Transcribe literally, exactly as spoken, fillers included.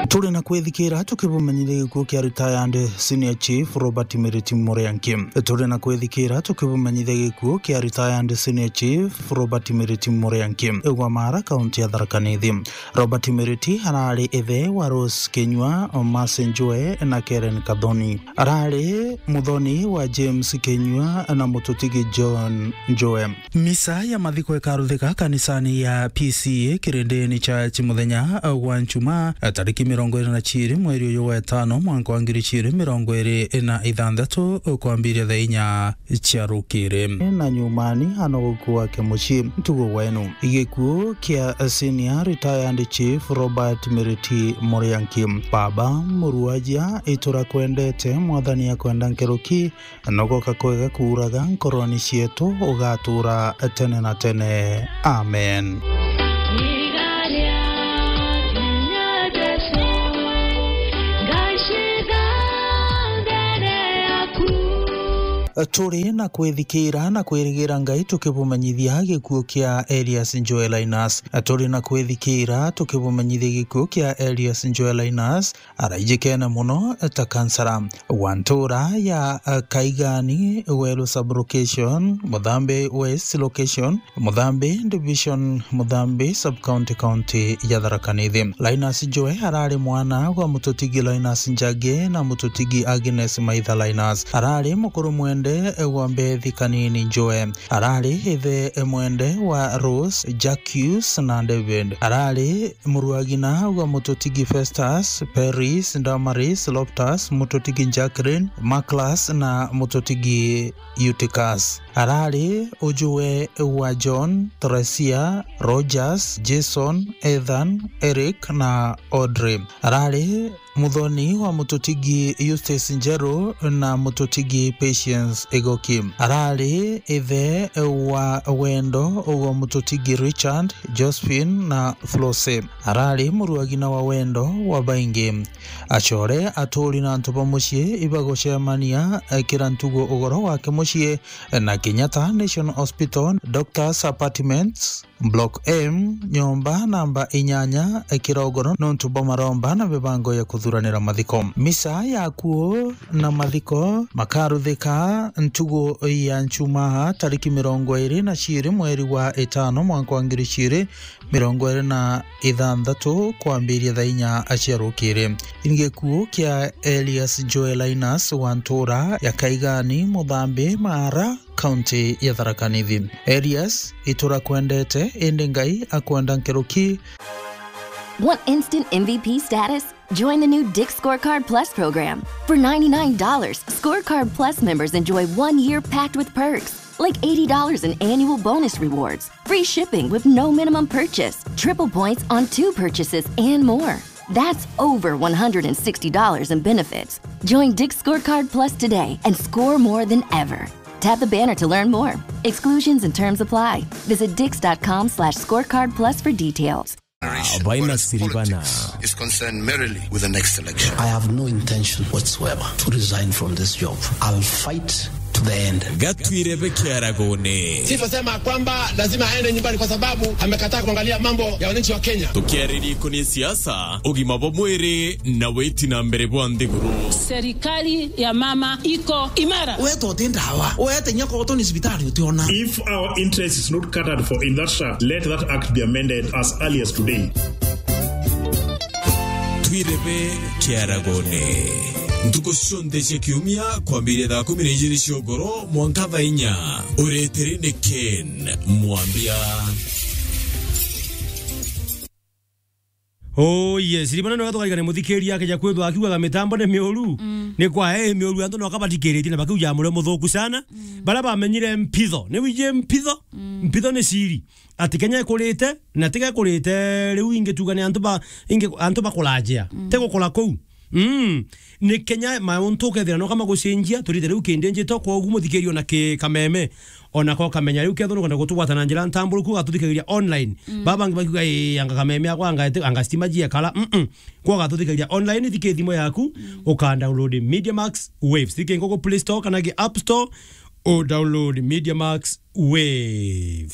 Turi na kwithikira tukibumenyithia gikuo kia retired senior chief Robert Miriti Murianki. Turi na kwithikira tukibumenyithia gikuo kia retired senior chief Robert Miriti Murianki, igwa Mara, kaunti ya Tharaka Nithi. Robert Miriti arari ithe wa Rose Kinyua, Mercy Njue na Karen Kathoni. Arari muthoni wa James Kinyua na mututigi John Njue. Misa ya mathiko ikaruthika kanisani ya P C A Kirindini Church muthenya gwa Njumaa, tariki mirongo iri na ciiri mweri uyu wa itano, mwanka wa ngiri ciiri mirongo iri na ithanthatu, kwambiria thaa inya cia rukiri. Na nyumani ano gukua ke mucii ntugo wenu. Gikuo kia senior retired chief Robert Miriti Murianki. Baba muruajia, iturakwendete, Mwathani akwenda nkuruki, nogoka kwega kuuraga nkoroni cietu, ugatuura tene na tene. Amen. Turi na kwithikira na kwirigira Ngai tukibumenyithia gikuo kia Elias Njue Linus. Turi na kwithikira tukibumenyithia gikuo kia Elias Njue Linus, araijikene muno ta kansara wa ntura ya, eh, Kaigani Weru Sub-Location, Muthambi West Location, Muthambi Division, Muthambi Sub-County, County ya Tharaka Nithi. Linus Njue arari mwana gwa mututigi Linus Njagi na mututigi Agnes Maitha Linus. Arari mukuru mwende gwa Mbethi Kanini Njue. Arari ithe mwende wa Rose, Jacques na David. Arari muruagina gwa mututigi Festus, Peris, Damaris, Loftus, mututigi Jacqueline, Maclas na mututigi Eutychus. Arari ujue wa John, Theresia, Rogers, Jason, Ethan, Eric na Audrey. Arari muthoni wa mututigi Eustace Njeru na mututigi Patience Igoki. Arari ithe wa Wendo ugwa mututigi Richard, Josephine na Flose. Arari muruagina wa Wendo wa baingi. Acore, aturi na antu ba mucii ibagucemania, eh, kira ntugo ugoro wake mucii, eh, na Kenyatta National Hospital, Doctors Apartments, Block M, nyomba namba inyanya, eh, kira ugoro nontu bwa maromba na mibango ya kuthuranira mathiko. Misa ya kuo na mathiko makaruthika ntugo ya Njumaa tariki mirongo iri na ciiri mweri wa itano mwanka wa ngiri ciiri mirongo iri na ithanthatu kwambiria thaa inya cia rukiri. Ni gikuo kia Elias Njue Linus wa ntura ya Kaigani, Muthambi, Mara, kaunti ya Tharaka Nithi. Elias, iturakwendete, indi Ngai akwenda nkuruki. Want instant M V P status? Join the new Dick's Scorecard Plus program. For ninety-nine dollars, Scorecard Plus members enjoy one year packed with perks, like eighty dollars in annual bonus rewards, free shipping with no minimum purchase, triple points on two purchases, and more. That's over one hundred sixty dollars in benefits. Join Dick's Scorecard Plus today and score more than ever. Tap the banner to learn more. Exclusions and terms apply. Visit dicks dot com slash scorecard plus for details. Baina siribana. Is concerned merely with the next election. I have no intention whatsoever to resign from this job. I'll fight to the end. Gatwirebe kiaragone. Chief asema kwamba lazima aende nyumbani kwa sababu amekataa kuangalia mambo ya wananchi wa Kenya. Tukiariria ikoni siasa, ugima bwa mwiri na witi na mbere bwa nthiguru. Serikali ya mama iko imara. Wetwo ti ndawa. Wete nyako utoni cibitari utiona. If our interest is not catered for in that shaft, let that act be amended as early as today. Twirebe kiaragone. Ntuku cionthe cia kiumia kwambiria thaa kumi na ijiri cia ugoro mwanka thaa inya. Ureteri ni Ken Mwambia. Oh yes, rimwe none tukarigane muthikiria akeja kwithwa akiugaga mitambo ni miuru. Mm. Ni kwa, eh, miuru, antu no kabathikiritie na bakiuja murio muthuku sana. Mm. Baria bamenyire mpitho, ni wiji mpitho? Mm. Mpitho ni siri. Ati Kenya ikurite, na tiga ikurite riu ingi tuga ni antu ba, ingi antu bakurajia. Mm. Ti gukura kuu. Mm. Ni Kenya mauntu ukethira no kama gucenjia, turite riu kindi njito, koguo muthikiria ona ki kameme. Ona ko kamenya riu kethira nukwenda gutugwata na njira ntamburuku, ugatuthikiriria online. Mm. Baba bangi bakiuga, "Ii, anga kameme akwa, anga ete-, anga stima jie kara." Mm-mm. Kwa ugatuthikiriria online, thike thimu yaku, mm, uka download Media Max Waves. Thike Google Play Store kana ki App Store, u download Media Max Waves.